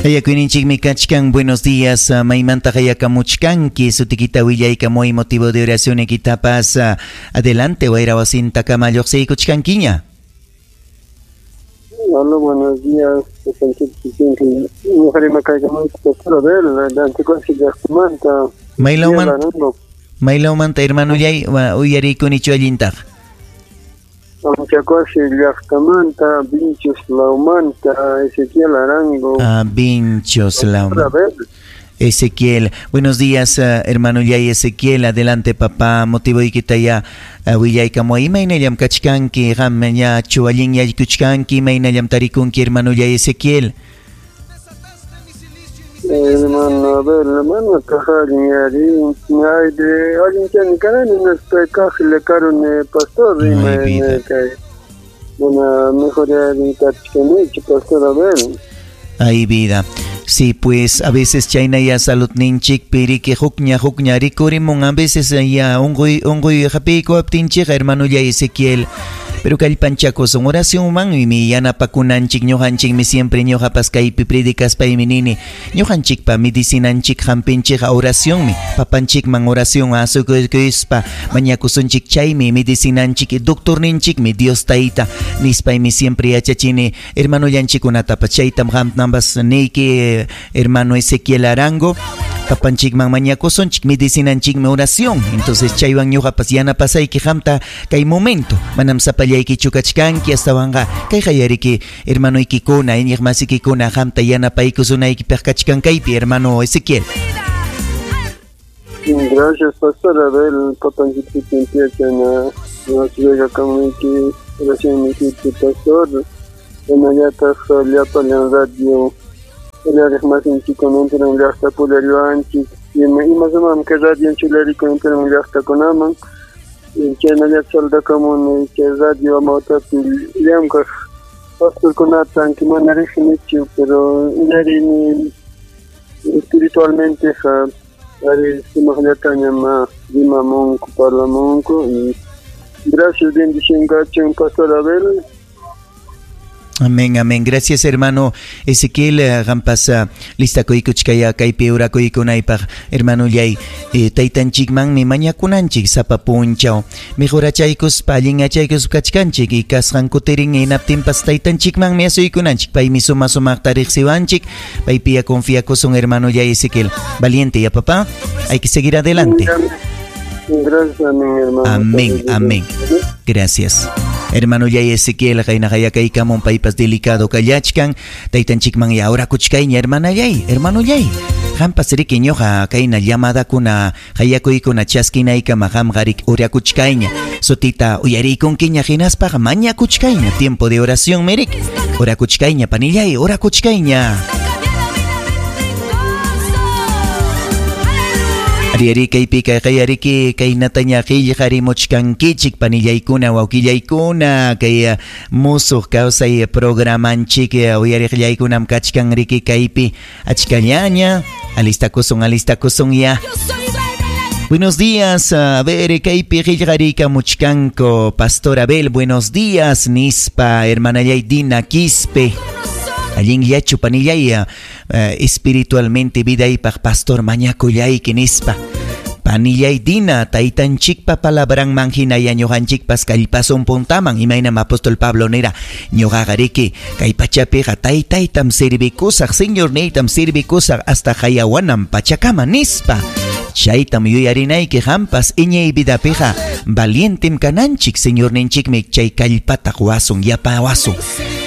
Hayakuyninchikmi kachkan. Buenos días. Maymanta hayakamuchkanki? Sutikita willaykamuy motivo de oración ekitapas. Adelante, wayra wasintakama lluqsiykuchkankiña. Hola, buenos días. Maylawmanta, hermanollay, uyariykunichu allintaqa. Anchacuasi llaqtamanta, Vinchos lawmanta, Ezequiel Arango. Ah, Vinchos lawmanta. Ezequiel, buenos días, hermano Yay Ezequiel, adelante papá, motivo ya willaykamuy, imaynallam kachkanki, qam ñachu allin yaykuchkanki, imaynallam tarikunki, hermano Yay Ezequiel. Hermano, a ver, hermano, pastor, pastor, a ver. Ay, vida. Sí, pues a veces chayna ya salud ninchik piriki hukña hukña rikurimun, a veces ya unquy unquy hapiykuwaptinchikqa, hermano ya Ezequiel. Pero kallpanchakusun oracionmanmi yanapakunanchik, ñuqanchikmi siempre ñuqapas kaypi predicaspaymi nini, ñuqanchikpa medicinanchik hampinchikqa oracionmi, papanchikman oración asukuykuspa mañakusunchik, chaymi medicinanchik, doctorninchikmi Dios tayta nispaymi siempre yachachini hermanollanchikkunatapas, chaytam qamtampas niyki, hermano Ezequiel Arango, papanchikman mañakusunchik, medicinanchikmi oración. Entonces chaywan ñuqapas yanapasayki qamta kay momento, manam sapallaykichu kachkanki, astawanqa kay qayariki hermanoykikuna, iñiqmasikikuna qamta yanapaykusunaykipaq kachkan kaypi, hermano Ezequiel. Gracias, pastor Abel, papanchikpi empiezan a llega kamuyki, gracias mi pastor, hinallataq llapallan radio uyariqmasinchikkunantin llaqta pulariwanchik, imasamam kay radio chularikunatin llaqtakunaman, chaynallataq saldakamuni chay radio amawtapi llamkaq pastorkunata, aunque mana riqsinichu, pero uyarini espiritualmente ari sumaqllatañam rimamunku, parlamunku, y gracias, bendición kachun, pastor Abel. Amén, amén. Gracias, hermano Ezequiel. Qampas listakuykuchkaya kaypi urakuykunaypaq, hermano Yay. Taytanchikmanmi mañakunanchik sapa punchaw. Mejorachaykuspa allinyachaykuspa kachkanchik y kasqan kutirin hinaptinpas taytanchikmanmi asuykunanchik. Paymi suma sumaqta riqsiwanchik. Paypiya confiakusun, hermano Yay Ezequiel. Valiente ya, papá. Hay que seguir adelante. Gracias, amén, hermano. Amén, amén. Gracias. Hermano Yay Ezequiel, qayna qayakaykamun paypas delicado kallachkan, taytanchikman ya orakuchkayña, hermana Yay, hermano Yay. Qampas riki ñuqa kayna llamadakuna qayakuykuna chaskinaykama qamqa riki orakuchkayña. Sutita uyariykunkiña hinaspaqa mañakuchkayña, tiempo de oración mirik. Orakuchkayña, panillay, orakuchkayña. Ari kaypi kayariki kaynataña qillqarimuchkankichik panillaykuna wawqillaykuna kay musuq kawsay programanchik uyariqllaykunam kachkan riki kaypi achkallaña alistakusun alistakusun ya. Buenos días, a ver, kaypi qillqarikamuchkanku Pastor Abel, buenos días, nispa hermanallay Dina Quispe. Allinllachu panillay espiritualmente vidaypaq pastor mañakullayki nispa. Panillay Dina, taytanchikpa palabranman hinaya ñuqanchikpas kallpasun puntaman, imaynam apóstol Pablo nira, ñuqaqa riki kay pachapiqa taytaytam servikusaq, señorniytam servikusaq hasta hayawanam pachakama nispa. Chaytam yuyarinayki qampas iñay vidapiqa valientem kananchik, señorninchikmi chay kallpata quwasun, yapawasun.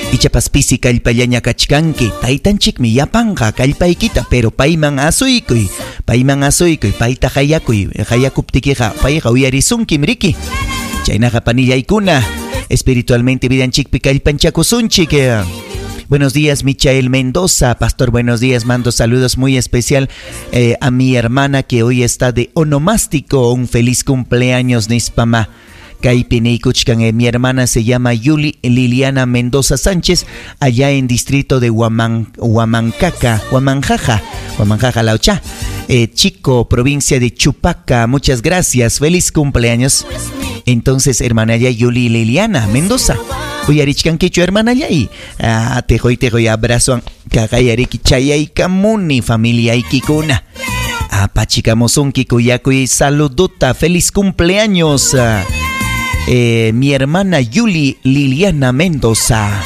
Ichapas pisi kallpallaña kachkanki, taytanchikmi yapanqa kallpaykita, pero payman asuykuy, payta hayakuy, hayakuptikiqa payqa uyarisunkim riki. Chaynaqa panillaykuna, espiritualmente vidanchikpi kallpanchakusunchik. Buenos días, Michael Mendoza. Pastor, buenos días. Mando saludos muy especial a mi hermana que hoy está de onomástico. Un feliz cumpleaños, nispama. Kaypi niykuchkan, mi hermana se llama Yuli Liliana Mendoza Sánchez, allá en distrito de Huamanjaja, Laucha, Chico, provincia de Chupaca. Muchas gracias, feliz cumpleaños. Entonces, hermana ya Yuli Liliana Mendoza, Uyarichkankichu hermanallay? Ah, tejoy tejoy abrazoan kaqayariki chayaykamuni familiaykikuna. Apachikamusunki kuyakuy saludota. Feliz cumpleaños. Mi hermana Yuli Liliana Mendoza.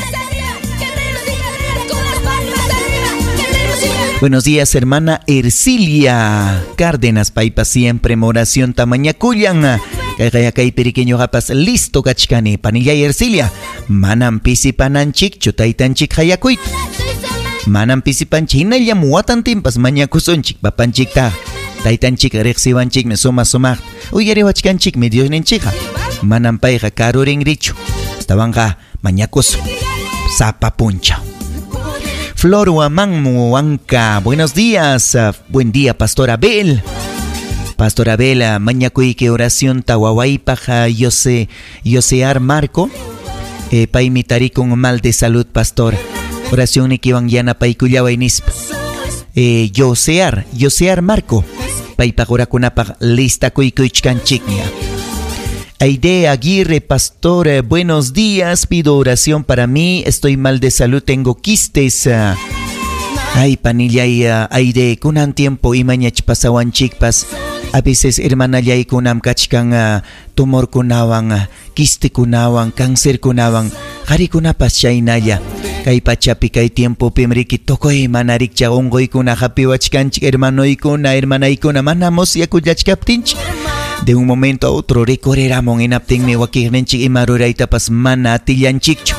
Buenos días, hermana Ercilia Cárdenas, paypa siempre oración tamañakullan. Kay periqueño gapas listo kachkani. Panillay Ercilia, manam pisipananchikchu taytanchik hayakuyta. Manam pisipanchik hinallam watantinpas mañakusunchik papanchikta. Taytanchik riqsiwanchikmi suma sumaqta. Uyariwachkanchikmi Diosninchikqa. Manam payqa karurinrichu. Astawanqa mañakusun sapa punchaw. Flor Huamán Huanca, buenos días. Buen día, Pastor Abel. Pastor Abel, mañakuyki oración tawawaypaq Yose, Yosear Marco. Paymi tarikun mal de salud, pastor. Oración nikiwan yanapaykullaway nispa. Yosear, Yosear Marco. Paypaq orakunapaq listakuykuchkanchikña. Aide Aguirre, pastor, buenos días. Pido oración para mí. Estoy mal de salud, tengo quistes. Ay, panillay, Aide, kunan tiempo imañach pasawanchikpas. A veces hermanallay kunam kachkan tumorkunawan, quistekunawan, cáncerkunawan, qarikunapas chaynalla. Kay pachapi kay tiempo riki tukuy mana rikcha unquykuna hapiwachkanchik hermanoykuna, hermanaykuna, mana musyakullachkaptinchik. De un momento a otro rikuriramun hinaptinmi wakiqninchik ima ruraytapas mana atillanchikchu.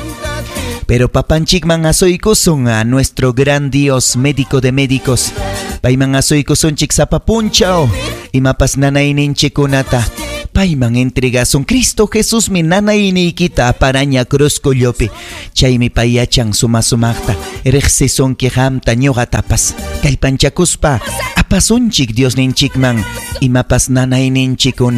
Pero papanchikman asuykusun a nuestro gran Dios, médico de médicos. Payman asuykusunchik sapa punchaw, imapas nanayninchikkunata. Payman entregasun Cristo Jesús mi nanayniykita aparaña cruz kullupi. Chaymi pay yachan suma sumaqta. Riqsisunki qamta ñuqatapas. Kallpanchakuspa apasunchik Diosninchikman imapas nanayninchikuna.